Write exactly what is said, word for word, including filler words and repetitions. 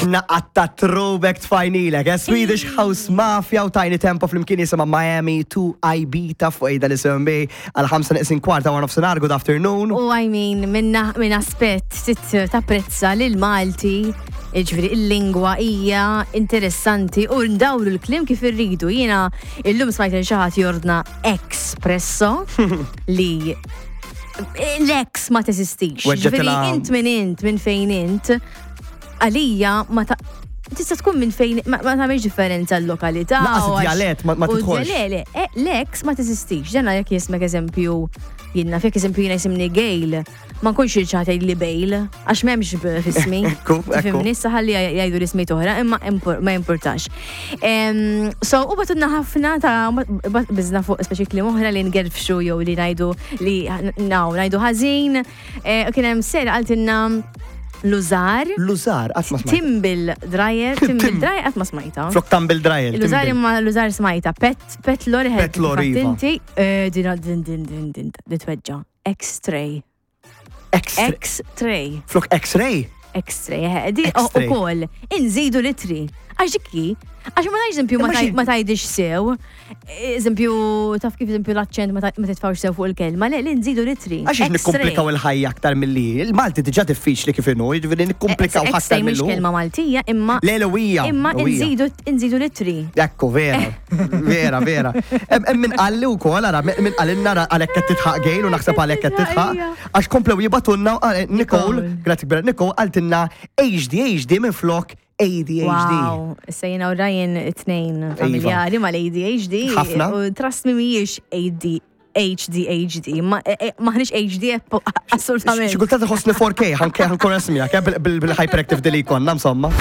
Naqatta throwback tfajnilek, eh? Swedish House Mafia u Tinie Tempah flimkien jisimha Miami to Ibiza fuq ejda l-S M B għal ħamsa neqsin kwarta wara nofsinhar, good afternoon. U I mean, minna minn aspett tit tapprezza lil Malti, ġifieri il-lingwa hija interessanti u ndawru l-kliem kif irridu. Jiena illum smajt lil xi ħadd jordna espresso li l-ex ma teżistix. Ġifieri Weġġetilha- int minn int, minn fejn int, għalija ma ta' tista' tkun minn fejn ma ma tagħmilx differenza l-lokalità. Lanqas u għax- id-djalett ma- ma u tidħolx. Le, le, eh, l-ex ma teżistix. Ġenna jekk jismek eżempju, jiena jekk eżempju jiena jisimni Gail, ma nkunx irċat li Bale, għax m'hemmx b f'ismi. Ekku, ekku. Tifhimni, issa ħalli jgħidu l-ismijiet oħra, imma impor- ma importax. Em, So, u bagħtulna ħafna ta' bat- bizna fuq speċi kliem oħra li ngerfxu jew li ngħidu li naw, ngħidu ħażin. Eh, U kien hemm ser qaltilna l-użar, L-użar, qatt ma smajt. Tumble dryer, tumble dryer qatt ma smajta. Flok tumble dryer. L-użar tumble. imma l-użar smajta. Pet, pet lorry. Pet lorry, iva. Inti, eh, din, din, din, din, din, din tweġġa. X-ray. X-ray. X-ray. Flok X-ray. X-ray, eh, di u X-ray. kol. Inżidu litri. Għax dikki, għax ma tgħidx eżempju ma Imma taj- xi- ma tgħidix sew. Eżempju, taf kif eżempju l-aċċent ma ta- ma titfawx sew fuq il-kelma, le, li nżidu litri. Għax X-ray. nikkomplikaw il-ħajja aktar milli. Il-Malti diġà diffiċli kif inhu, jiġifieri nikkomplikaw aktar X-ray mhix millu. kelma Maltija, imma Le, le, imma nżidu nżidu litri. Ekku, vera, vera, vera. Hemm min qalli wkoll, ara, min qalilna ara għalhekk qed tidħaq Gail u naħseb għalhekk qed tidħaq. Għax komplew jibagħtulna eh, Nicole, Nicole. grazzi kbira, Nicole qaltilna H D H D minn flok A D H D. Wow, issa jiena u Ryan it-tnejn familjari mal-A D H D. Ħafna. U trust me mhijiex A D H D H D, ma eh, eh, maħniex H D assolutament. Xi kultant iħossni four K, ħanke ħankun esmija, bil-hyperactive li konna, insomma.